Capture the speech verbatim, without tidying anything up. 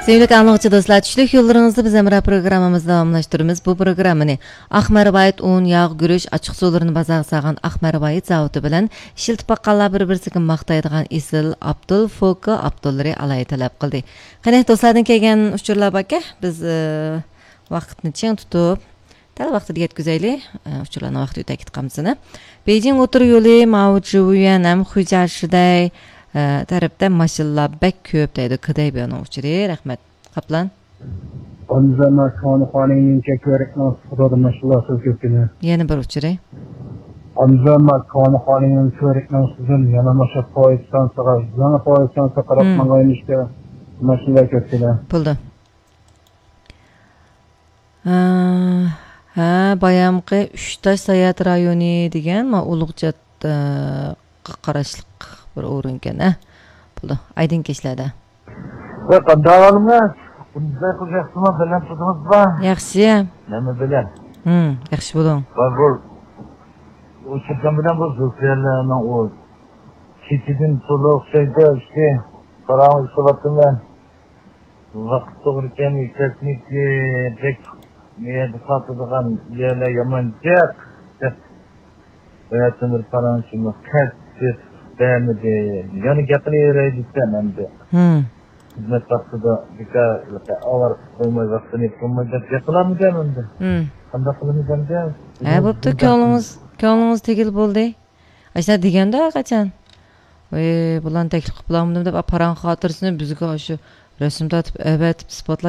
سۆيۈملۈك ئاڭلىغۇچى دوستلار، چۈشلۈك يوللىرىڭىزدا بىز ھەمراھ پروگراممىمىزنى داۋاملاشتۇرىمىز. بۇ پروگراممىنى ئاق مەرۋايىت ئۇن، ياغ، گۈرۈچ، ئاچچىق سۇلىرىنى بازارغا سالغان ئاق مەرۋايىت زاۋۇتى بىلەن ئىشلىتىپ باققانلار بىر-بىرسىگە ماختايدىغان ئېسىل ئابدۇل فوكا ئابدۇللىرى ئالاھىدە تەلەپ قىلدى. قېنى، دوستلاردىن كەلگەن ئۇچۇرلار باركەن، بىز، ئى، ۋاقىتنى چىڭ تۇتۇپ، دەل ۋاقتىدا يەتكۈزەيلى. ئە، ئۇچۇرلارنىڭ ۋاقتى ئۆتۈپ كېتىپ قالمىسۇن. بېيجىڭ ئوتتۇرا يولى، ماۋۇ جۇۋيۈەن ھەم خۇيجيا شىدەي، ئە، تەرەپتە ماشىنىلار بەك كۆپ دەيدۇ. كېدەي بۇنىڭ ئۇچۇرى. رەھمەت. قاپلان. ئامزا ماكانخانىنىڭ كۆرۈكنىڭ سۇدۇر ماشىنىلار سۆز كۆپىنى. يەنە بىر ئۇچۇرى. ئامزا ماكانخانىنىڭ كۆرۈكنىڭ سۇدۇن يەنە ماشا پويىستانسىغا، يېڭى پويىستانسىغا قاراپ ماڭغان ئىشتا ماشىنىلار كۆپىنى. بولدى. ھە، ھە، بايامقى ئۈچ تاش ساياھەت رايونى دېگەن، ما ئۇلۇغ جاددىغا قاراشلىق بىر ئورۇنكەن، ھە. بولدى، ئايدىڭ كەچلەردە. ۋە قانداق ئالىمىز؟ بۇنداق قىز ياخشىمۇ؟ بىلەن تۇتىمىزبا؟ ياخشى. نېمە بىلەن؟ ھىم، ياخشى بولۇڭ. ۋە بۇ، ئۇ چىققان بىلەن بۇ زۇلپىيەلەرنىڭ ئۇ كېچىدىن تولۇق ئوخشايدۇ، ئىشتى. پاراڭ ئىشلەۋاتىمەن. ۋاقىت توغرا كەلمەي، تېخنىكا بەك نېرۋا تارتىدىغان يەرلەر يامان جىق. بەتىمىر پاراڭشىمۇ قەتئىي بەرمىدى. يەنە گەپ قىلىۋېرەي دېسەم ئەمدى. ھىم. خىزمەت ۋاقتىدا بىكار ئاۋارە قىلىپ قويماي، ۋاقتىنى يېپىپ قويماي دەپ گەپ قىلالمىدىم ئەمدى. ھىم. قانداق قىلىمىز ئەمدى؟ ھە، بوپتۇ، كۆڭلىڭىز، كۆڭلىڭىز تېگىل بولدى. ئاشۇنداق دېگەندە قاچان؟ ۋەي، بۇلارنى تەكلىپ قىلىپ بولامدىم دەپ، پاراڭ خاتىرىسىنى بىزگە ئاشۇ رەسىم تارتىپ، ئەۋەتىپ، ئىسپاتلاپ